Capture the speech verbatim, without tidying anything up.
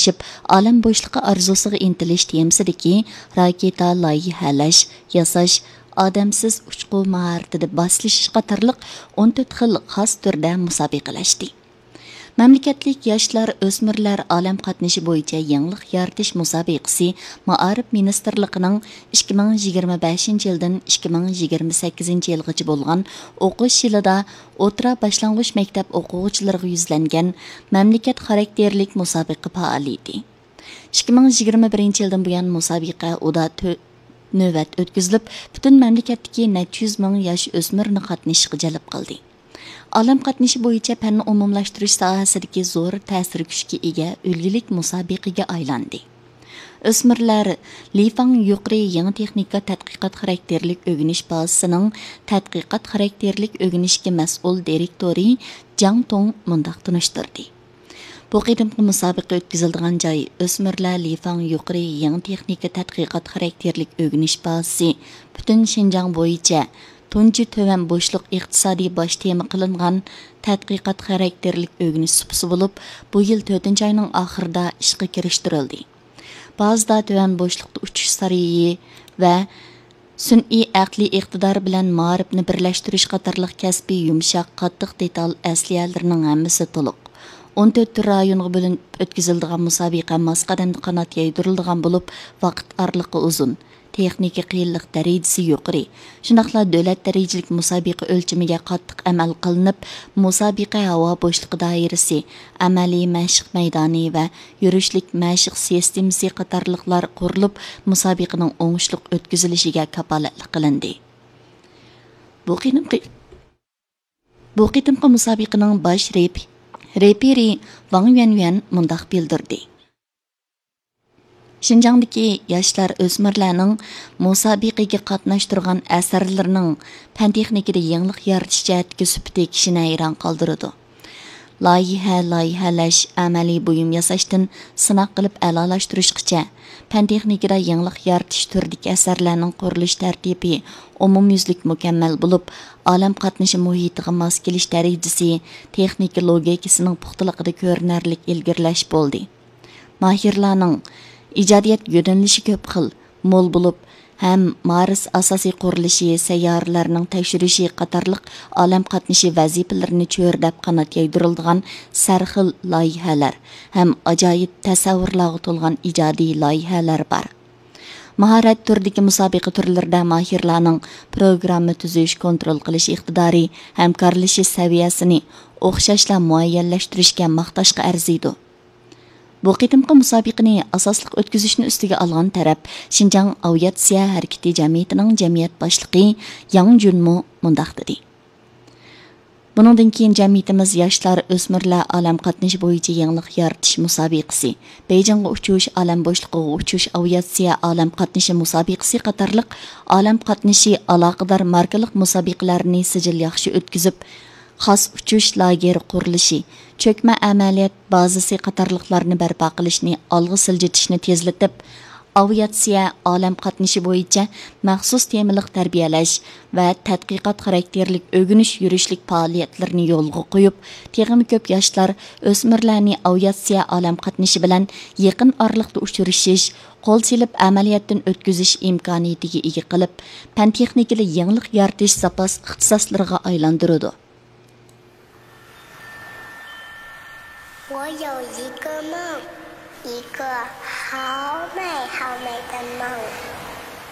ئېرىشىپ، ئالەم بوشلۇقى ئارزۇسىغا ئىنتىلىش تېمىسىدىكى راكېتا لايىھەلەش، ياساش، ئادەمسىز ئۇچقۇ ماھارىتىدە باسلىشىش قاتارلىق ئون تۆت خىل خاس تۈردە مۇسابىقىلەشتى. مەملىكەتلىك ياشلار، ئۆسمۈرلەر ئالەم قاتنىشى بويىچە يېڭىلىق يارىتىش مۇسابىقىسى مائارىپ مىنىستىرلىقىنىڭ ئىككى مىڭ يىگىرمە بەشىنچى يىلدىن ئىككى مىڭ يىگىرمە سەككىزىنچى يىلغىچە بولغان ئوقۇش يىلىدا ئوتتۇرا، باشلانغۇچ مەكتەپ ئوقۇغۇچىلىرىغا يۈزلەنگەن مەملىكەت خاراكتېرلىك مۇسابىقە پائالىيىتى. ئىككى مىڭ يىگىرمە بىرىنچى يىلدىن بۇيان مۇسابىقە ئۇدا تۆ-، نۆۋەت ئۆتكۈزۈلۈپ، پۈتۈن مەملىكەتتىكى نەچچە يۈز مىڭ ياش ئۆسمۈرنى قاتنىشىشقا جەلپ قىلدى. ئالەم قاتنىشى بويىچە پەننى ئومۇملاشتۇرۇش ساھەسىدىكى زور تەسىر كۈچكە ئىگە ئۈلگىلىك مۇسابىقىگە ئايلاندى. ئۆسمۈرلەر لىفاڭ يۇقىرى يېڭى تېخنىكا تەتقىقات خاراكتېرلىك ئۆگىنىش بازىسىنىڭ تەتقىقات خاراكتېرلىك ئۆگىنىشكە مەسئۇل دىرېكتورى جاڭ توڭ مۇنداق تونۇشتۇردى. بۇ قېتىمقى مۇسابىقە ئۆتكۈزۈلىدىغان جاي ئۆسمۈرلەر لىفاڭ يۇقىرى يېڭى تېخنىكا تەتقىقات خاراكتېرلىك ئۆگىنىش بازىسى، پۈتۈن شىنجاڭ بويىچە تۇنجى تۆۋەن بوشلۇق ئىقتىسادىي باش تېما قىلىنغان تەتقىقات خاراكتېرلىك ئۆگىنىش سۇپىسى بولۇپ، بۇ يىل تۆتىنچى ئاينىڭ ئاخىرىدا ئىشقا كىرىشتۈرۈلدى. بازىدا تۆۋەن بوشلۇقتا ئۇچۇش سارىيى ۋە سۈنئىي ئەقلىي ئىقتىدار بىلەن مائارىپنى بىرلەشتۈرۈش قاتارلىق كەسپىي يۇمشاق، قاتتىق دېتال ئەسلىھەلىرىنىڭ ھەممىسى تولۇق. ئون تۆت رايونغا بۆلۈنۈپ ئۆتكۈزۈلىدىغان مۇسابىقە ماس قەدەمدە قانات يايدۇرۇلىدىغان بولۇپ، ۋاقىت ئارىلىقى ئۇزۇن، تېخنىكا قىيىنلىق دەرىجىسى يۇقىرى، شۇنداقلا دۆلەت دەرىجىلىك مۇسابىقە ئۆلچىمىگە قاتتىق ئەمەل قىلىنىپ، مۇسابىقە ھاۋا بوشلۇقى دائىرىسى، ئەمەلىي مەشىق مەيدانى ۋە يۈرۈشلۈك مەشىق سىستېمىسى قاتارلىقلار قۇرۇلۇپ، مۇسابىقىنىڭ ئوڭۇشلۇق ئۆتكۈزۈلۈشىگە كاپالەتلىك قىلىندى. بۇ قېتىمقى، بۇ قېتىمقى مۇسابىقىنىڭ باش رېپ-، رېپېرى ۋاڭ يۈەنيۈەن مۇنداق بىلدۈردى: شىنجاڭدىكى ياشلار، ئۆسمۈرلەرنىڭ مۇسابىقىگە قاتناشتۇرغان ئەسەرلىرىنىڭ پەن تېخنىكىدا يېڭىلىق يارىتىش جەھەتتىكى سۈپىتى كىشىنى ھەيران قالدۇرىدۇ. لايىھە، لايىھەلەش، ئەمەلىي بۇيۇم ياساشتىن سىناق قىلىپ ئەلالاشتۇرۇشقىچە، پەن تېخنىكىدا يېڭىلىق يارىتىش تۈرىدىكى ئەسەرلەرنىڭ قۇرۇلۇش تەرتىپى ئومۇميۈزلۈك مۇكەممەل بولۇپ، ئالەم قاتنىشى مۇھىتىغا ماس كېلىش دەرىجىسى، تېخنىكا لوگىكىسىنىڭ پۇختىلىقىدا كۆرۈنەرلىك ئىلگىرىلەش بولدى. ماھىرلارنىڭ ئىجادىيەت يۆنىلىشى كۆپ خىل، مول بولۇپ، ھەم مارس ئاساسىي قۇرۇلۇشى، سەييارىلەرنىڭ تەكشۈرۈشى قاتارلىق ئالەم قاتنىشى ۋەزىپىلىرىنى چۆرىدەپ قانات يايدۇرۇلىدىغان سەرخىل لايىھەلەر ھەم ئاجايىپ تەسەۋۋۇرلارغا تولغان ئىجادىي لايىھەلەر بار. ماھارەت تۈرىدىكى مۇسابىقە تۈرلىرىدە ماھىرلارنىڭ پروگرامما تۈزۈش، كونترول قىلىش ئىقتىدارى، ھەمكارلىشىش سەۋىيەسىنى ئوخشاشلا مۇئەييەنلەشتۈرۈشكە ماختاشقا ئەرزىيدۇ. بۇ قېتىمقى مۇسابىقىنى ئاساسلىق ئۆتكۈزۈشنى ئۈستىگە ئالغان تەرەپ شىنجاڭ ئاۋىئاتسىيە ھەرىكىتى جەمئىيىتىنىڭ جەمئىيەت باشلىقى ياڭ جۈنمۇ مۇنداق دېدى: بۇنىڭدىن كېيىن جەمئىيىتىمىز ياشلار، ئۆسمۈرلەر ئالەم قاتنىشى بويىچە يېڭىلىق يارىتىش مۇسابىقىسى، بېيجىڭغا ئۇچۇش، ئالەم بوشلۇقىغا ئۇچۇش، ئاۋىئاتسىيە ئالەم قاتنىشى مۇسابىقىسى قاتارلىق ئالەم قاتنىشى ئالاقىدار ماركىلىق مۇسابىقىلەرنى سىجىل ياخشى ئۆتكۈزۈپ، خاس ئۇچۇش لاگېرى قۇرۇلۇشى، چۆكمە ئەمەلىيەت بازىسى قاتارلىقلارنى بەرپا قىلىشنى ئالغا سىلجىتىشنى تېزلىتىپ، ئاۋىئاتسىيە ئالەم قاتنىشى بويىچە مەخسۇس تېمىلىق تەربىيەلەش ۋە تەتقىقات خاراكتېرلىك ئۆگىنىش يۈرۈشلۈك پائالىيەتلىرىنى يولغا قويۇپ، تېخىمۇ كۆپ ياشلار، ئۆسمۈرلەرنى ئاۋىئاتسىيە ئالەم قاتنىشى بىلەن يېقىن ئارىلىقتا ئۇچرىشىش، قول سېلىپ ئەمەلىيەتتىن ئۆتكۈزۈش ئىمكانىيىتىگە ئىگە قىلىپ، پەن تېخنىكىدا يېڭىلىق يارىتىش زاپاس ئىختىساسلىرىغا ئايلاندۇرىدۇ. 我有一个梦，一个好美好美的梦。